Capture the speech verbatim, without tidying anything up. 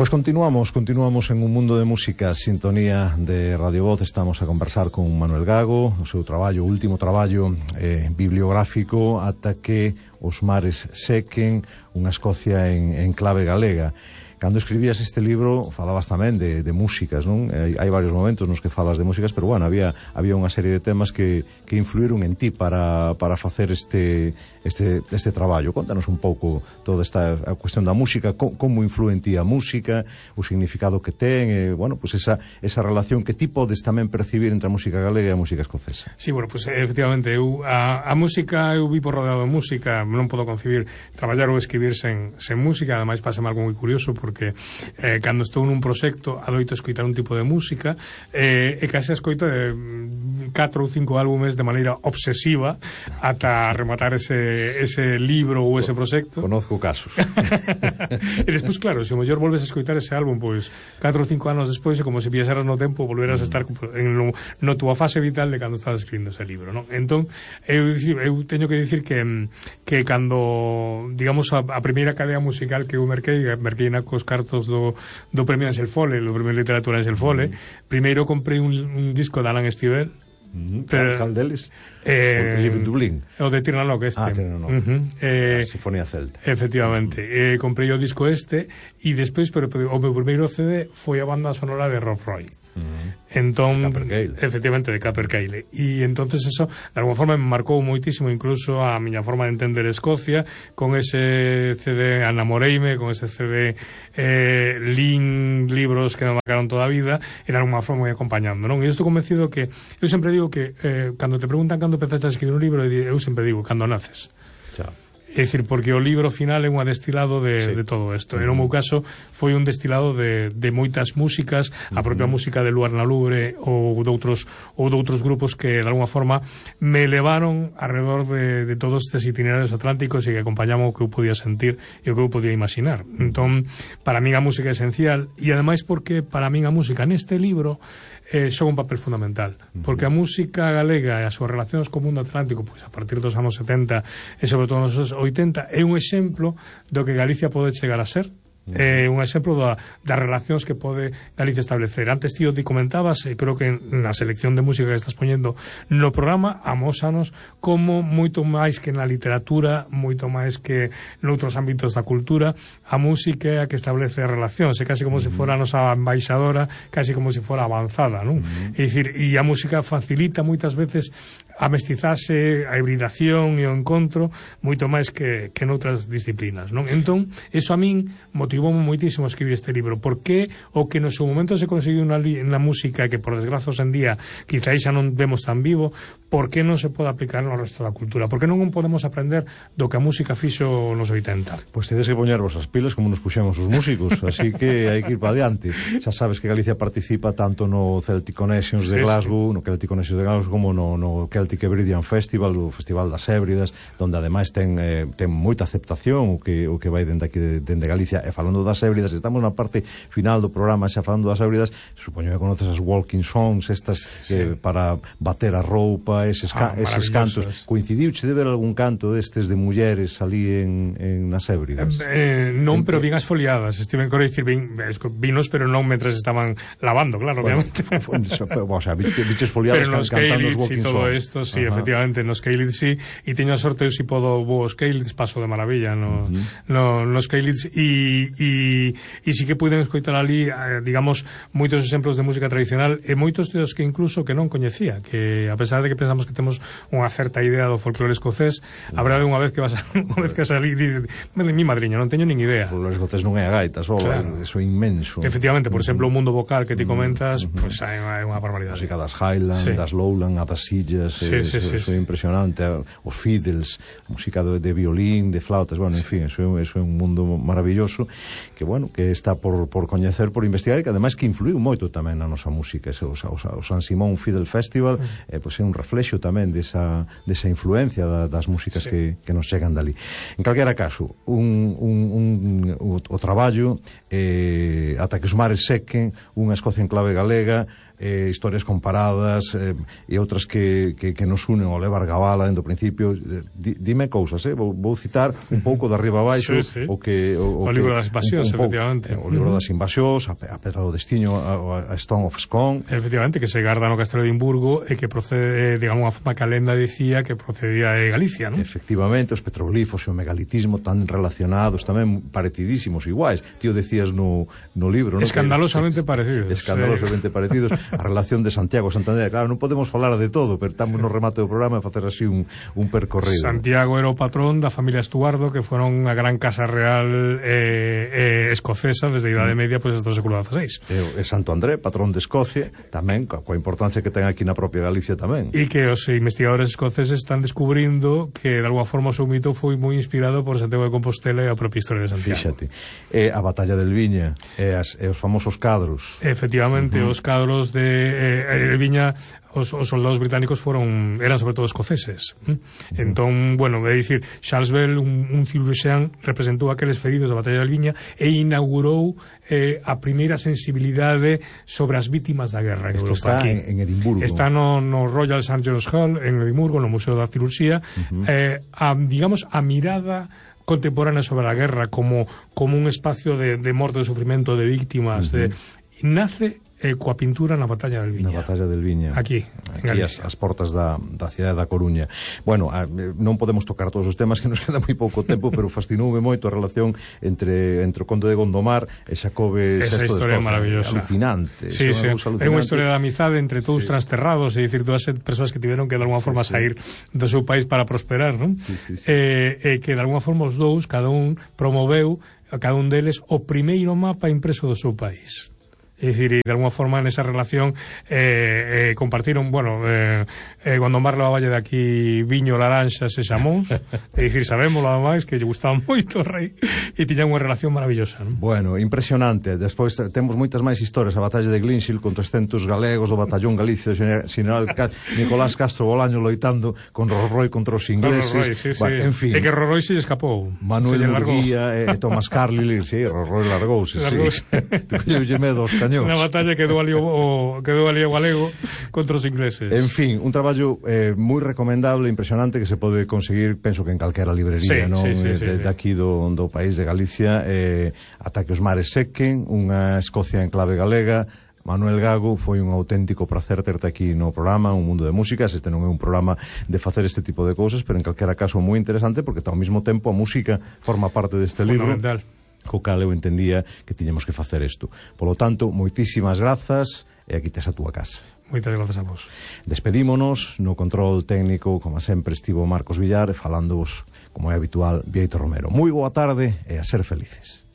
Pois continuamos, continuamos en un mundo de música, sintonía de Radio Voz. Estamos a conversar con Manuel Gago, o seu traballo, o último traballo eh, bibliográfico, Ata que os mares sequen, unha Escocia en, en clave galega. Cando escribías este libro falabas tamén de, de músicas, non? Hai, hai varios momentos nos que falas de músicas, pero bueno, había había unha serie de temas que, que influíron en ti para, para facer este, este, este traballo. Contanos un pouco toda esta a cuestión da música, co, como influe en ti a música, o significado que ten, e, bueno, pues esa, esa relación que ti podes tamén percibir entre a música galega e a música escocesa. Sí, bueno, pues efectivamente, eu, a, a música, eu vivo rodeado de música, non podo concebir traballar ou escribir sen, sen música. Ademais, pásame algo moi curioso, porque porque eh, cando estou nun proxecto adoito escoitar un tipo de música eh, e case escoito de catro ou cinco álbumes de maneira obsesiva ata rematar ese, ese libro ou ese proxecto. Conozco casos. E despois, claro, se o mellor volves a escoitar ese álbum pois catro ou cinco anos despois é como se viaxeras no tempo, volveras a estar en no, no túa fase vital de cando estabas escribindo ese libro, non? Entón, eu, eu teño que dicir que que cando, digamos, a, a primeira cadea musical que eu merquei, merquei na cos cartos do, do premio Ansel Fole, do premio de literatura Ansel Fole. Mm. Primeiro comprei un, un disco de Alan Stivell. Mm, pero, cal deles? Eh, o Live in Dublín. O de Tirnanoc este. Ah, Tirnanoc. Uh -huh. eh, a Sinfonía Celta. Efectivamente. Uh -huh. eh, comprei o disco este e despois, pero o meu primeiro C D foi a banda sonora de Rob Roy. Uh -huh. Entón, efectivamente, de Capercaillie. E entonces eso, de alguma forma, me marcou moitísimo incluso a miña forma de entender Escocia, con ese C D Anamoreime, con ese C D eh, Lin, libros que me marcaron toda a vida, e de alguma forma moi acompañando, non? E estou convencido que, eu sempre digo que eh, cando te preguntan cando empezaste a escribir un libro, eu sempre digo, cando naces. Xa. É dicir, porque o libro final é un destilado de, sí. de todo isto. Uh -huh. En o meu caso foi un destilado de, de moitas músicas, uh -huh. a propia música de Luar na Lubre ou doutros, ou doutros grupos que de alguma forma me levaron alrededor de, de todos estes itinerarios atlánticos e que acompañaban o que eu podía sentir e o que eu podía imaginar. Entón, para min a música é esencial, e ademais porque para min a música neste libro eh, xoga un papel fundamental, porque a música galega e as súas relacións co mundo atlántico, pois a partir dos anos setenta e sobre todo nos anos oitenta, é un exemplo do que Galicia pode chegar a ser. É un exemplo da, das relacións que pode Galicia establecer. Antes, tío, te comentabas, e creo que na selección de música que estás poñendo no programa, amósanos como moito máis que na literatura, moito máis que noutros ámbitos da cultura, a música é a que establece relacións, é casi como uh -huh. se fora a nosa embaixadora, casi como se fora avanzada, non? Uh -huh. É dicir, e a música facilita moitas veces a mestizase, a hibridación e o encontro moito máis que, que noutras disciplinas, non? Entón, eso a min motivou moitísimo a escribir este libro, porque o que no seu momento se conseguiu na, na música, que por desgraza hoxe en día quizá xa non vemos tan vivo, por que non se pode aplicar no resto da cultura? Por que non podemos aprender do que a música fixo nos oitenta? Pois tedes que poñervos as pilas como nos puxemos os músicos, así que hai que ir para adiante. Xa sabes que Galicia participa tanto no Celtic Connections de Glasgow, sí, sí. no Celtic Connections de Glasgow, como no, no Celtic Hebridean Festival, o Festival das Hébridas, donde ademais ten, eh, ten moita aceptación o que, o que vai dende aquí de, dende Galicia. E falando das Hébridas, estamos na parte final do programa, xa falando das Hébridas, supoño que conoces as walking songs estas, sí. que para bater a roupa, eses, ah, eses cantos. Coincidiuche de ver algún canto destes de mulleres ali en, en nas Hébridas? Eh, non, pero bien asfoliadas. Estiven con dicir, vin, vinos, pero non mentres estaban lavando, claro, bueno, obviamente. O sea, biches foliadas can, cantando os walking songs. Todo esto, sí, ajá. Efectivamente, nos Keylitz sí, e teño a sorte, eu si podo vos Keylitz, paso de maravilla no, uh -huh. no, nos Keylitz, e, e, e si que puiden escoitar ali, eh, digamos, moitos exemplos de música tradicional, e moitos dos que incluso que non coñecía, que a pesar de que pensamos que temos unha certa idea do folclore escocés, uh -huh. a verdade unha vez que vas a, unha vez que salí, dice, mi madriña, non teño nin idea. O folclore escocés non é a gaita, só, claro. Eso é inmenso. Efectivamente, por exemplo, o mundo vocal que ti comentas, uh -huh. pois pues, é unha barbaridade. Música das Highlands, sí. das Lowland, a das Sillas, sí, eh, sí, sí, eso é sí. impresionante, os fiddles, música de, de violín, de flautas, bueno, en fin, eso, eso é un mundo maravilloso que, bueno, que está por, por coñecer, por investigar, e que ademais que influiu moito tamén na nosa música. Ese, o, o, o San Simón Fiddle Festival eh, pues é un reflexo tamén desa, desa influencia da, das músicas sí. que, que nos chegan dali. En calquera caso, un, un, un, o, o traballo eh, ata que os mares sequen, unha Escocia en clave galega, eh, historias comparadas eh, e outras que, que, que nos unen ao levar Gabala dentro do principio. Di, dime cousas, eh? vou, vou citar un pouco de arriba abaixo sí, sí. o que o, o, o que, libro das invasións, un, un efectivamente pouco, o libro das invasións, a, a Pedra do Destiño, a, a Stone of Scone, efectivamente, que se garda no Castelo de Edimburgo e que procede, digamos, unha forma que a lenda dicía que procedía de Galicia, non? Efectivamente, os petroglifos e o megalitismo tan relacionados, tamén parecidísimos, iguais. Tío, decías no, no libro, non? Escandalosamente que, parecidos. Escandalosamente sí. parecidos. A relación de Santiago e Santander, claro, non podemos falar de todo, pero estamos no remate do programa e facer así un, un percorrido. Santiago era o patrón da familia Estuardo, que foron a gran casa real eh, eh, escocesa desde a Idade Media pois, pues, hasta o século dieciséis. E, e Santo André, patrón de Escocia, tamén, coa importancia que ten aquí na propia Galicia tamén. E que os investigadores escoceses están descubrindo que, de alguma forma, o seu mito foi moi inspirado por Santiago de Compostela e a propia historia de Santiago. Fíxate. E a batalla del Viña, e, as, e os famosos cadros. Efectivamente, uh -huh. os cadros de eh, Viña... Os, os soldados británicos foron eran sobre todo escoceses. ¿eh? Entón, bueno, é dicir, Charles Bell, un, un cirurxián, representou aqueles feridos da batalla de Albiña e inaugurou eh, a primeira sensibilidade sobre as vítimas da guerra en Esto Europa. Está aquí. En, en Edimburgo. Está no, no Royal Saint John's Hall en Edimburgo, no Museo da Cirurxía. Uh -huh. eh, a, digamos, a mirada contemporánea sobre a guerra como, como un espacio de, de morte, de sufrimento, de víctimas, uh -huh. de, nace eh, coa pintura na batalla del Viña. Na batalla del Viña. Aquí, en Aquí as, as portas da, da cidade da Coruña. Bueno, a, non podemos tocar todos os temas, que nos queda moi pouco tempo, pero fascinoume moito a relación entre, entre o conde de Gondomar e Xacobe Esa sexto historia de Escocia. Maravillosa. Alucinante. Sí, sí. É unha historia de amizade entre todos sí. transterrados, é dicir, todas as persoas que tiveron que de alguma forma sí, sí. sair do seu país para prosperar, non? Sí, sí, sí. E eh, eh, que de alguma forma os dous, cada un promoveu a cada un deles o primeiro mapa impreso do seu país. É dicir, e de alguma forma nesa relación eh, eh, compartiron, bueno, eh, eh, Gondomar levaballe de aquí viño, laranxas e xamóns, é dicir, sabemos nada máis que lle gustaba moito o rei e tiñan unha relación maravillosa, non? Bueno, impresionante. Despois temos moitas máis historias, a batalla de Glynshil con trescentos galegos do batallón Galicia do general Nicolás Castro Bolaño loitando con Rorroi contra os ingleses. Rorroi, sí, sí. Bueno, en fin. E que Rorroi se lle escapou. Manuel Murguía e Tomás Carlyle, sí, Rorroi largouse, sí. Tu colleulle medo aos cañóns. Unha batalla quedou ali o, o quedou ali o galego contra os ingleses. En fin, un traballo eh, moi recomendable, impresionante, que se pode conseguir, penso que en calquera librería, sí, non? Sí, sí, de, sí, de, sí. de aquí do, do país de Galicia, eh, ata que os mares sequen, unha Escocia en clave galega. Manuel Gago, foi un auténtico placer terte aquí no programa Un Mundo de Músicas. Este non é un programa de facer este tipo de cousas, pero en calquera caso moi interesante, porque ao mesmo tempo a música forma parte deste libro, co cal eu entendía que tiñamos que facer isto. Polo tanto, moitísimas grazas, e aquí tes a túa casa. Moitas grazas a vos. Despedímonos, no control técnico, como sempre, estivo Marcos Villar, e falándovos, como é habitual, Bieito Romero. Moi boa tarde e a ser felices.